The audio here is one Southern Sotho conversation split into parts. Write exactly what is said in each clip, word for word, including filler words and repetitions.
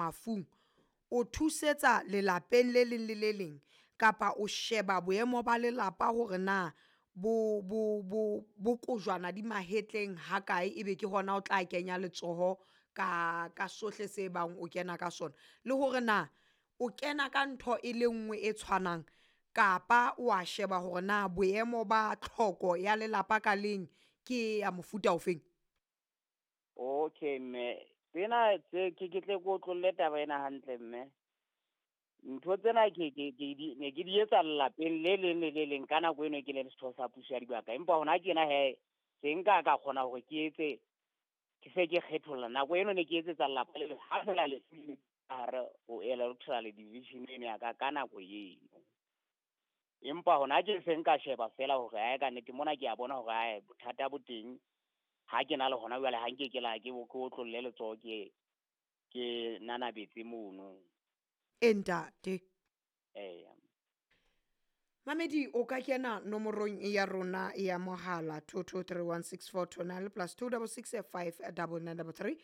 mafung, o thusetsa lelapeng le leng le le leng kapa o sheba boemo ba lelapa hore na bo bo bo bo kojwana di mahetleng ha kae, ebe ke hona o tla kenya letsoho ka ka sohle se bang o kena ka sona, le hore na o kena ka ntho e le nngwe e tshwanang kapa wa sheba hore na boemo ba tlhoko ya lelapa ka leng ke ya mofuta ofeng? Okay mme, tsena tse ke ke tle ke otlolle taba ena hantle mme. Ntho tsena ke ke ke di ne ke di etsa lelapeng le leng le le leng ka nako eno ke le setho sa puso ya dibaka. Empa hona tjena hee se nka ka kgona hore ke etse ke se ke kgetholla. Nako eno ne ke etsetsa lelapa le leng ha fela lefu le hare ho electoral division eno ya ka ka nako eno. Empa hona tje se nka sheba fela hore ae ka nnete mona ke a bona hore ae bothata bo teng. Ha ke na le hona jwale ha nke ke la ke ke otlolle letsoho ke ke nanabetse mono. E ntate. Eya. Mamedi o ka kena nomorong ya rona ya mohala two two three one six four two nine plus two double six five double nine double three,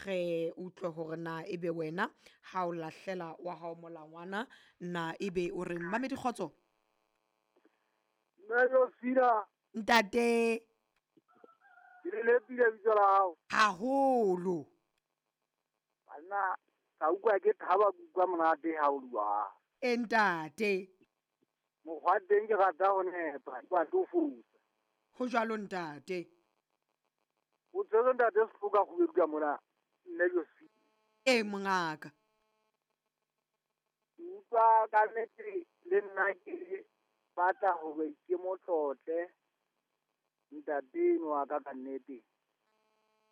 re utlwe hore na ebe wena ha o lahlela wa hao molangwana na ebe o reng. Mamedi, kgotso. Mme Josina. Ntate. Ke le lepile bitso la hao. Haholo. Banna, ka utlwa ke thaba, ke utlwa monate ha o bua. E ntate. Mokgwa teng ke rata ho nepa, ke batle ho fosa. Ho jwalo ntate. O tshwere ntate Sehloka kgubedu ka mona, mme Josina. E mongaka. Ke utlwa ka nnete le nna ke batla hore ke mo tlotle ntate enwa wa ka ka nnete.